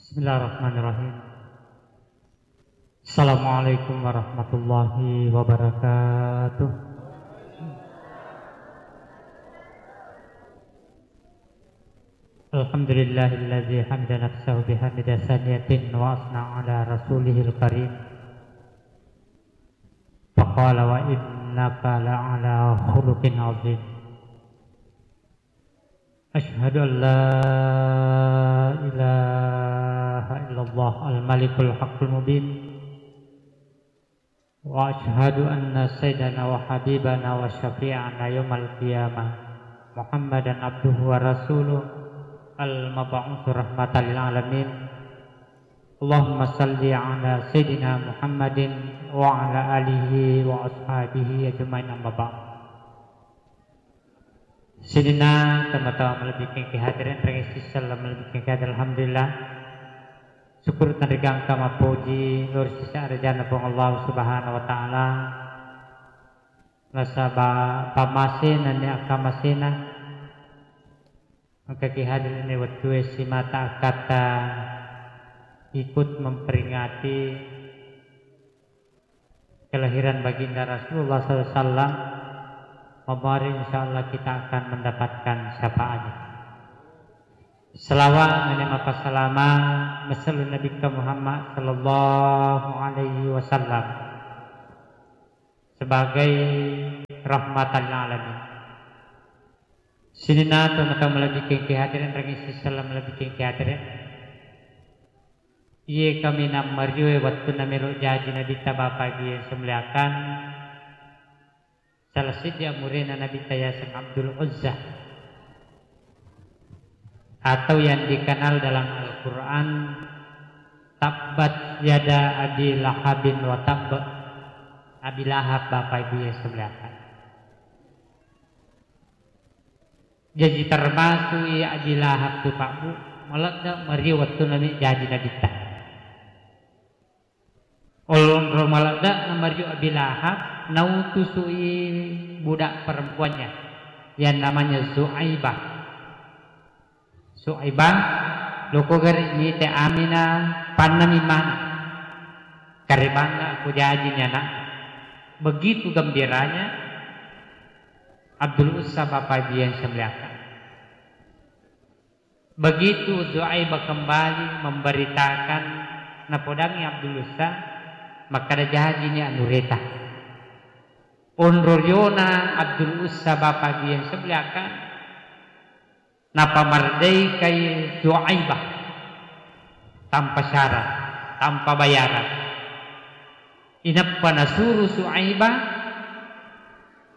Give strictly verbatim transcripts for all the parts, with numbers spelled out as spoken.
Bismillahirrahmanirrahim. Assalamualaikum warahmatullahi wabarakatuh. Alhamdulillahilladzi hamida nafsahu bihamida saniyatin wa asna ala rasulihil karim. Faqala wa innaka la'ala khuluqin azim. Asyhadu an la ilaha illallah al-malikul haqqul mubin. Wa asyhadu anna sayyidana wa habibana wa syafi'ana yaumal qiyamah Muhammadan abduhu wa rasuluh al-mab'usu rahmatan lil alamin. Allahumma salli ala sayyidina Muhammadin wa ala alihi wa ashabihi ajma'in, amma ba'd. Sininna tomatoa malebbi'keng ki hadirin, rengeng sisella malebbi'keng ki hadirin, alhamdulillah. Syukur tenrigangka mappoji lao ri sese arajana Puang Allah Subhanahu wa Ta'ala. Nasaba pamasena ni akkamasena. Maka ki hadirin wettue simata akkatta ikut memperingati kelahiran Baginda Rasulullah sallallahu alaihi wasallam, mabari insyaallah kita akan mendapatkan syafaatnya. Selawat nani mappasalama masellu Nabikka Muhammad sallallahu alaihi wasallam sebagai rahmatan lil alamin. Sininna tomatoa malebbi'keng ki hadirin, rengeng sisella malebbi'keng ki hadirin. Iye kaminang marioe wettunna melo jaji Nabitta, Bapak Ibu yang saya muliakan, salah siddi amurena Nabitta yaseng Abdul Uzza, atau yang dikenal dalam Al-Quran, tabbat yada Abi Lahabin wa tabb. Abi Lahab, Bapak Ibu yang saya muliakan. Jaji termasui Abi Lahab tu, Pak Bu, maledde mario wettunna mi jaji Nabitta. Onro maledde na mario Abi Lahab, nautusui budak perempuannya yang namanya Zuaibah. Zuaibah, loko gari mite Aminah, pannami mana. Karebanna aku jaji ni anak. Begitu gembiranya Abdul Uzza, Bapak Ibu yang saya muliakan. Begitu Zuaibah kembali memberitakan, napodangi Abdul Uzza, makkada jajini anureta. Onro riona Abdul Uzza, Bapak Ibu yang saya muliakan, napamardaikai Zuaibah tanpa syarat, tanpa bayaran. Inappa nasuru Zuaibah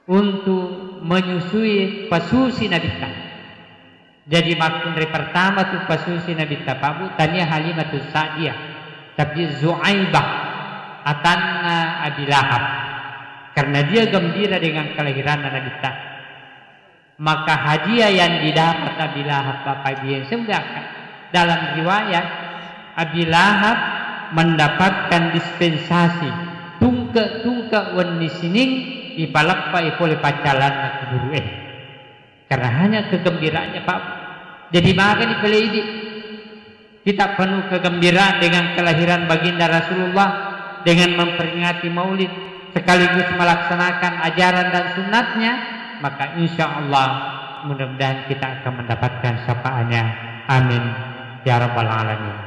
untuk menyusui pasusi Nabitta. Jadi makkunrai pertama tu pasusi Nabitta, Pak Bu, tania Halimatus Sa'diyah, tapi Zuaibah, atanna Abi Lahab. Karena dia gembira dengan kelahiranna Nabitta. Maka hadiah yang didapat Abi Lahab, Bapak Ibu yang saya muliakan, dalam riwayat, Abi Lahab mendapatkan dispensasi tungke-tungke wenni sining ipaleppei pole paccalanna kuburu'e. Karena hanya kegembiraannya, Pak. Jadi, magani pale idi. Kita penuh kegembiraan dengan kelahiran Baginda Rasulullah, dengan memperingati Maulid, sekaligus melaksanakan ajaran dan sunnatnya, maka insya Allah mudah-mudahan kita akan mendapatkan syafaatnya. Amin ya rabbal alamin.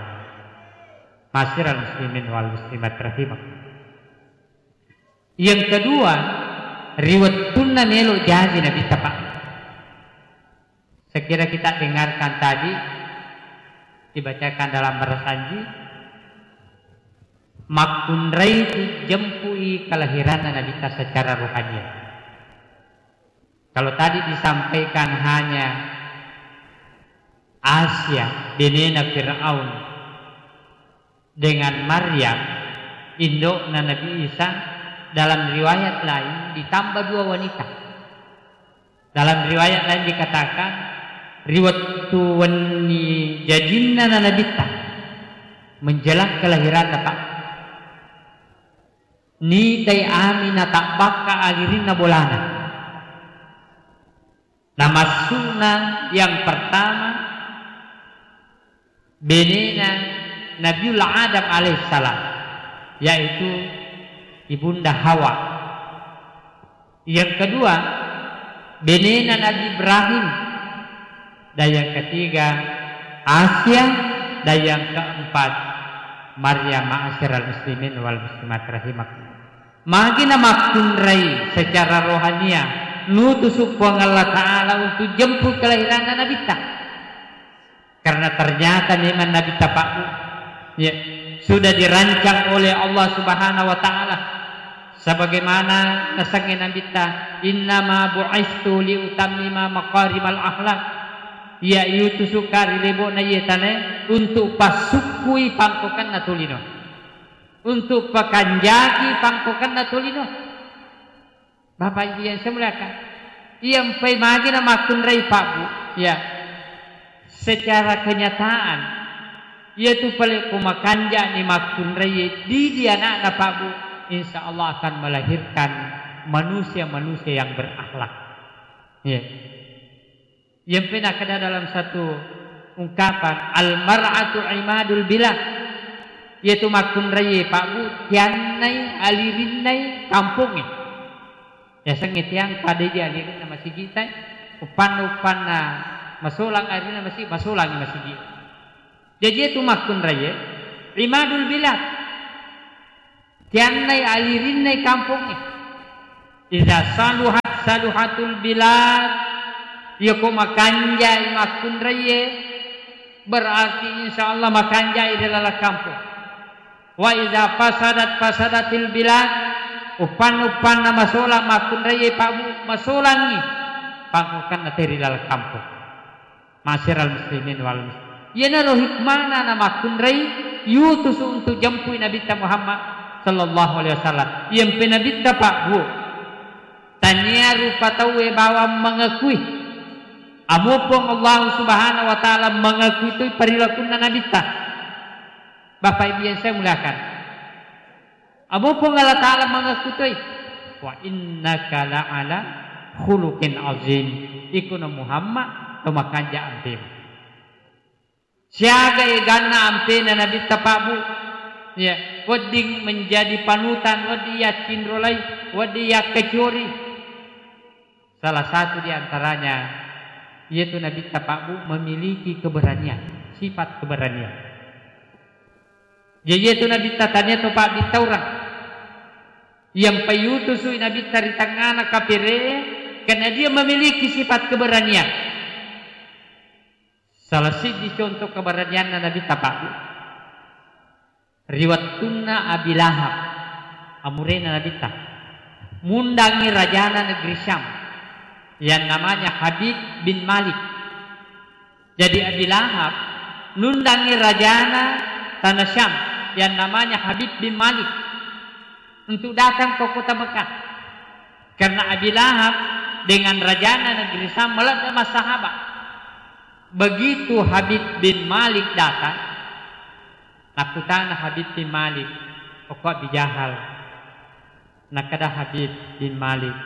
Ma'asyiral muslimin wal muslimat rahimakum. Yang kedua, ri wettunna melo jaji Nabitta, Pak. Sekira kita dengarkan tadi, dibacakan dalam barasanji, makkunrai tu jempui kelahiranna Nabitta secara rohaniah. Kalau tadi disampaikan hanya Asia, benena Firaun, dengan Maryam, indokna Nabi Isa, dalam riwayat lain ditambah dua wanita. Dalam riwayat lain dikatakan, ri wettu wenni jajinna na Nabitta, menjelang kelahiranna, Pak, nitai Aminah tabbakka agirinna bolana. Namassu'na yang pertama, benena Nabiullah Adam alaihissalam, yaitu Ibunda Hawa. Yang kedua, benena Nabi Ibrahim. Dan yang ketiga, Asia. Dan yang keempat, Maryam. Ma'asyiral muslimin wal muslimat rahimakumullah. Magi namakkunrai secara rohania, nutusu Puang Allah Ta'ala untuk jemput kelahiranna Nabitta. Karena ternyata memang Nabitta Pak Bu, ya, sudah dirancang oleh Allah Subhanahu wa Ta'ala. Sebagaimana nasengnge Nabitta, "Innama bu'istu liutammima makarimal akhlak." Iya, iutusuka ri lebo'na iye tanae untuk passukkui pangkokanna tolino. Untuk pakanjaki pangkokanna tolino. Bapak Ibu yang saya muliakan, iya mpai magi namakkunrai Pak Bu, ya. Secara kenyataan, iyatu pale ko makanja ni makkunrai didi anakna Pak Bu, insya Allah akan melahirkan manusia-manusia yang berakhlak. Ya. Iyampe nakkeda dalam satu ungkapan, "Al-mar'atu imadul bilad." Iyatu makkunraie, Pak Bu, tiannai, alirinnai kampongnge. Yasengnge tiang pada idi alirinna masigitai, uppanna, uppanna masolang alirinna masigi, masolangi masigi. Jaji iyatu makkunraie, imadul bilad. Tiannai alirinnai kampongnge. Idza saluhat saluhatul bilad. Iyako makanjai makkunraie, berarti insya Allah makanjai ri laleng kampong. Wa idza fasadat fasadatil bilad. Uppan-uppanna masolang makkunraie, Pak Bu, masolangi pangkokanna te ri laleng kampong. Ma'asyiral muslimin wal muslimat. Iyanaro hikmana namakkunrai yutusu untuk jempui Nabitta Muhammad sallallahu alaihi wasallam. Iyampe Nabitta, Pak Bu, tania rupa tauwe bawang mangakui. Amo Puang Allah Subhanahu wa Ta'ala mangakui toi perilakunna Nabitta. Bapak Ibu yang saya muliakan, Amo Puang Allah Ta'ala mangakutoi, "Wa innaka la'ala khuluqin azim." Ikono Muhammad to makanja ampemu. Siaga eganna ampena Nabitta, Pak Bu. Ya, wedding menjadi panutan, wedding yaccinrolai, wedding yakkecori. Salah satu di antaranya, yaitu Nabitta, Pak Bu, memiliki keberanian, sifat keberanian. Jaji iyatu Nabitta tania to pabbittaurang. Yang payutusui Nabitta ri tengngana kapere, karena dia memiliki sifat keberanian. Salah siddi contoh keberanianna Nabitta, Pak Bu. Ri wettunna Abi Lahab, amurena Nabitta, mundangi rajana negeri Syam, yang namanya Habib bin Malik. Jadi Abi Lahab nundangi rajana tanah Syam yang namanya Habib bin Malik untuk datang ke kota Mekah. Karena Abi Lahab dengan rajana negeri Syam meledak masahabat. Begitu Habib bin Malik datang, nakkutana Habib bin Malik, "Okko Abi Jahal?" Nakkeda Habib bin Malik,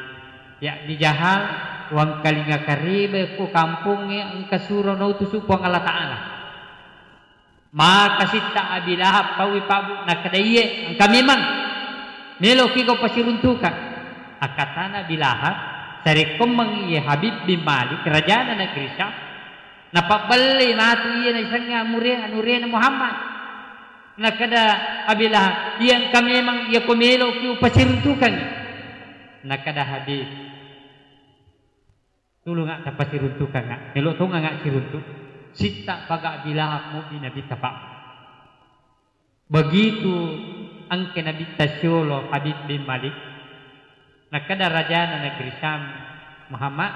"Ya Abi Jahal, wangkalinga kareba ko kampongnge engka suro nautusu Puang Allah Ta'ala." Maka sitta Abi Lahab paui, Pak Bu, nakkeda, "Iye, engka memang. Meloki ko pasiruntukang." Akkatana Abi Lahab, sarekkommeng iye Habib bin Malik, rajana negeri Syam, napabbelle matu iye naisengnge amure-, anurena Muhammad. Nakkeda Abi Lahab, "Iya engka memang, iyako meloki upasiruntukangngi." Nakkeda Habib, "Tulunga tapasiruntukangnga, melo tongangnga siruntu." Sitta paga Abi Lahab mobbi Nabitta, Pak. Begitu engke Nabitta siolo Habib bin Malik, nakkeda rajana negeri Syam, "Muhammad,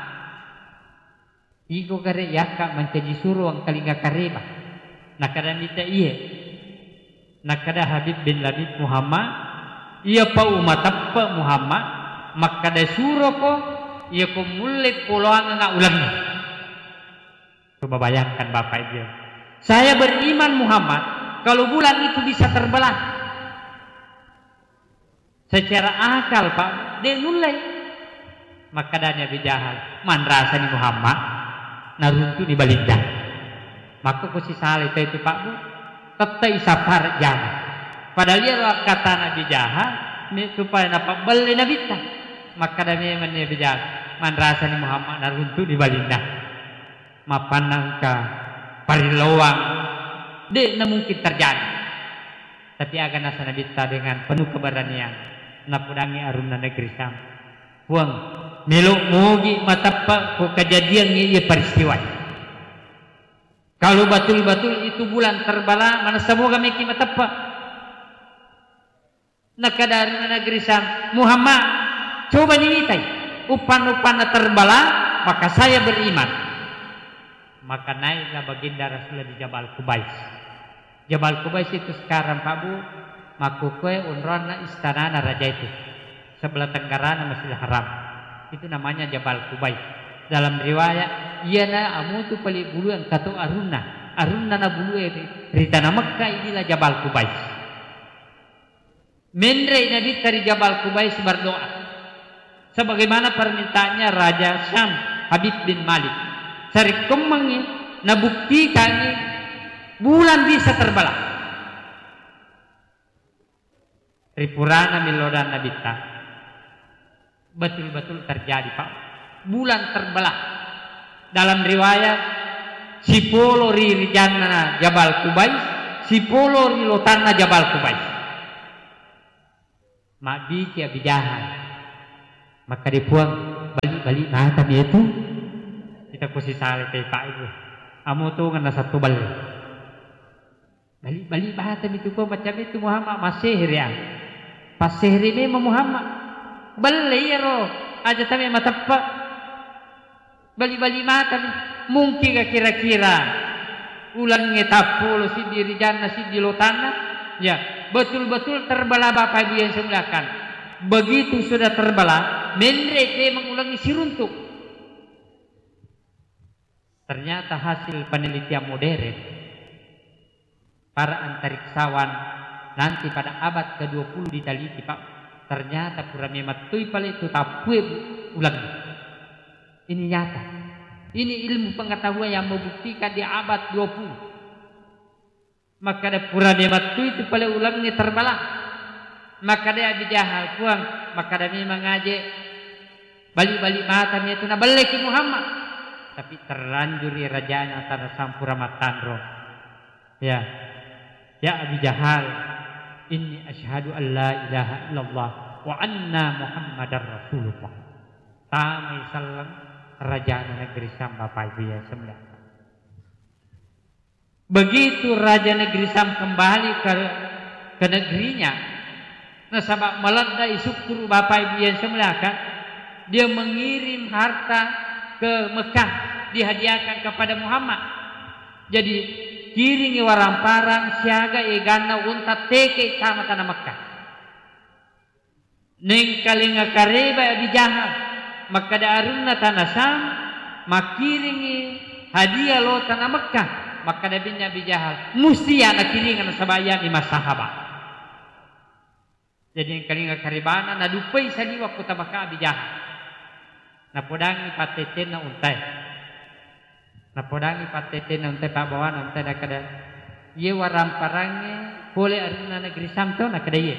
iko gare yakka mancaji suro engkalinga kareba?" Nakkeda Nabitta, "Iye." Nakkeda Habib bin Labib, "Muhammad, iyapa umateppe Muhammad, makkeda suroko, iyako mulle poloangengnga ulengnge." Coba bayangkan Bapak Ibu. "Saya beriman Muhammad, kalau bulan itu bisa terbelah." Secara akal, Pak, de' nullei. Makkedani Abi Jahal, "Manrasani Muhammad, naruntuni balinda." Makko ko sisalai tau itu, Pak Bu. Tettai sapara jama. Padahal iyaro akkatana Abi Jahal, me-, supaya napabbelle Nabitta. Makkada memenni Abi Jahal, manrasani Muhammad naruntu'ni balinna. Mappanna engka parillawang, de'na mungkin terjadi. Tapi aga nasa Nabitta dengan penuh keberanian, napodangi arunna negeri Syam, "Puang, melo' mogi mateppa ko kejadian iya peristiwa. Kalau betul-betul itu bulan terbala, manessa moga meki mateppa." Nakkeda arunna negeri Syam, "Muhammad, coba niwitai, uppan-uppanna terbala, maka saya beriman." Maka naiklah baginda Rasulullah di Jabal Kubais. Jabal Kubais itu sekarang, Pak Bu, makkukue onroanna istanana raja itu. Sebelah tenggarana Masjidil Haram. Itu namanya Jabal Kubais. Dalam riwayat, iyana amutu pale bulue engkato arunna. Arunna na bulue ri, ri tanah Mekah, inilah Jabal Kubais. Menre Nabitta ri Jabal Kubais berdoa. Sebagaimana permintaannya Raja Syam, Habib bin Malik. Sarekkoammengngi nabuktikangngi bulan bisa terbela. Ri purana milodang Nabitta. Betul-betul terjadi, Pak. Bulan terbelah. Dalam riwayat, sipolo ri rijanna Jabal Kubais, sipolo ri lotanna Jabal Kubais. Mabbici Abi Jahal. Makkeda, "Puang, bali-bali matami itu." Kita kusi sale te, Pak, itu. Amo tu ngena satu bali. Bali-bali matami tu, ko macam itu Muhammad, massehere, ah. Passehere memang Muhammad. Belle iyaro, aja tame mateppa. Bali-bali matami. Mungkin kira-kira ulengnge tappulo siddi rijanna siddi lotanna. Ya, betul-betul terbela Bapak Ibu yang saya muliakan. Begitu sudah terbela, menre memang ulengnge siruntuk. Ternyata hasil penelitian modern, para antariksawan nanti pada abad kedua puluh diteliti, Pak, ternyata pura memettui pale tu tappue, Bu, ulang. Ini nyata. Ini ilmu pengetahuan yang membuktikan di abad dua puluh. Makkeda pura memettui tu pale ulengnge terbela. Makkeda Abi Jahal, "Puang, makkeda memang aje bali-bali matami itu nabelleki Muhammad." Tapi terlanjur rajana tanah Syam pura mattanro. Ya. "Ya Abi Jahal, inni asyhadu an la ilaha illallah wa anna Muhammadar Rasulullah." Tamai selleng rajana negeri Syam, Bapak Ibu yang saya muliakan. Begitu raja negeri Syam kembali ke, ke negerinya, nasaba maladde'i sukkuru Bapak Ibu yang saya muliakan, dia mengirim harta ke Mekah, dihadiahkan kepada Muhammad. Jadi, kiringi waramparang siaga eganna unta teke tama tanah Mekah. Nengkalinga kareba Abi Jahal, makkeda arunna tanah Syam, makkiringi hadiah lo tanah Mekah, makkeda binna Abi Jahal, musti ya nakiringa nasaba iyani massahaba. Jadi nengkalinga karebana, naduppai saliwa kota Mekah Abi Jahal. Napodangi pattettenna untae. Napodangi pattettenna untae, pabbawana untae, nakkeda, "Iye waramparangnge pole arunna negeri Syam to?" Nakkeda, "Iye."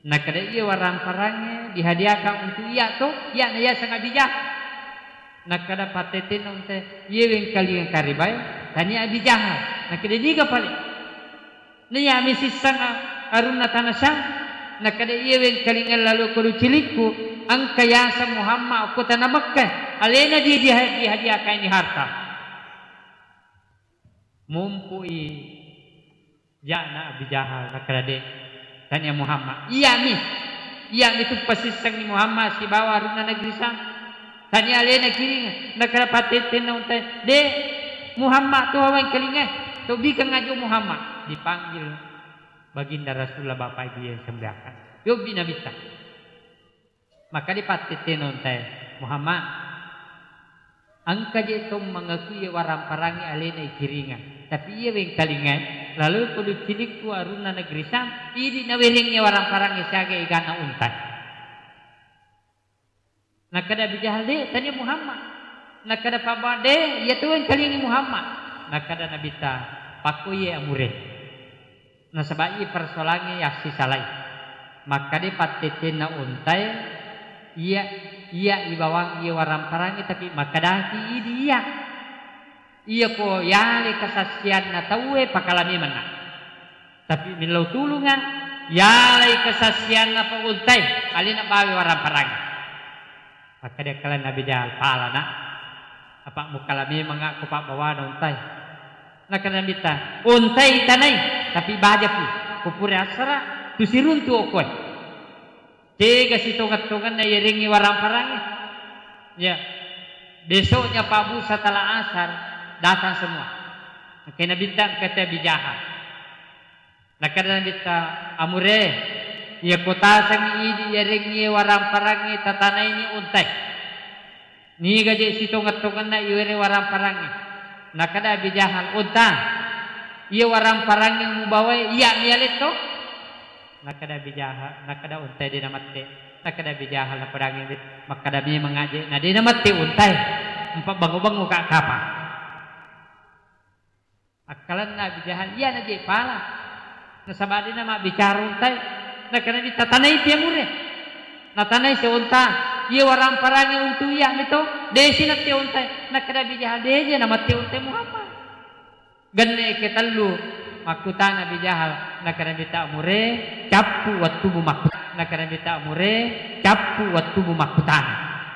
Nakkeda, "Iye waramparangnge dihadiahkan untuk iya to, iyana yaseng Abi Jahal." Nakkeda pattettenna untae, "Iye wengkalinga karebae, tania Abi Jahal." Nakkeda, "Niga pale?" Naiya mi sisseng a-, arunna tanah Syam, nakkeda, "Iya wengkalinga lalo kodu cilikku, engka yaseng Muhammad okko tanah Mekkah, alena dia diha-, dihadiahkan ini harta." Mumpui ja'na Abi Jahal, nakkeda, "De', tania Muhammad." "Iya mi, iya mi tu pasissengngi Muhammad sibawa arunna negeri Syam. Tania alena kiringa." Nakkeda pattettenna untae, "De', Muhammad tu wengkalinga, to bikeng ajo Muhammad." Dipanggil Baginda Rasulullah, Bapak Ibu yang saya muliakan. Yobbi Nabitta. Makkeda pattettenna untae, "Muhammad, engka je to mangakui waramparangnge alena ikiringa. Tapi iya wengkalinga, lalo kodu cilikku arunna negeri Syam, idi nawerengnge waramparangnge siaga eganna unta." Nakkeda Abi Jahal, "De', tania Muhammad." Nakkeda pabbawa, "De', iya tu wengkalingi Muhammad." Nakkeda Nabitta, "Pakko iye amure." Nasaba iye persoalangnge yassisalai. Makkeda pattettenna ontae, iya, iya ibawang iye waramparangnge, tapi makkedaki idi iya. Iyako yale kesaksianna tauwe, pakala memenna. Tapi millau tulunga, yalai kesaksianna pa ontae, alena bawe waramparangnge. Makkeda kala Nabi Jahal, "Pala, Nak. Apa mukala memang aku pabbawana ontae?" Nakkeda Nabitta, "Ontae tanai, tapi bajapi. Kupure assara, tusiruntu okkoe. Tega sitongeng-tongenna yerengngi waramparangnge. Ya, besoknya Pak Bu setelah asar datang semua." Engka Nabitta, engka Nabi Jahal. Nakkeda Nabitta, "Amure, iya kotasengngi idi yarengngi waramparangnge, tatanaini ontae. Niga je sitongeng-tongenna iwere waramparangnge?" Nakkeda Abi Jahal, "Onta, iya waramparangnge mubawae, iya mialetto?" Nakkeda Abi Jahal, nakkeda ontae de namette. Nakkeda Abi Jahal napadangi, "Makkeda memang aje na de namette ontae, empa bango-bango ka kapang." Akkalenna Abi Jahal, iyana je pala. Nasaba de namabbicara ontae. Nakkeda Nabitta, "Tanai pi amure." Natanai si onta, "Iye waramparangnge untu iya mito, de si natte ontae?" Nakkeda Abi Jahal, "De je namette ontae Muhammad." Genne ketellu makkutana Abi Jahal, nakkeda Nabitta, "Amure, cappu wettumu makku-, nakkeda Nabitta, amure, cappu wettumu makkutana."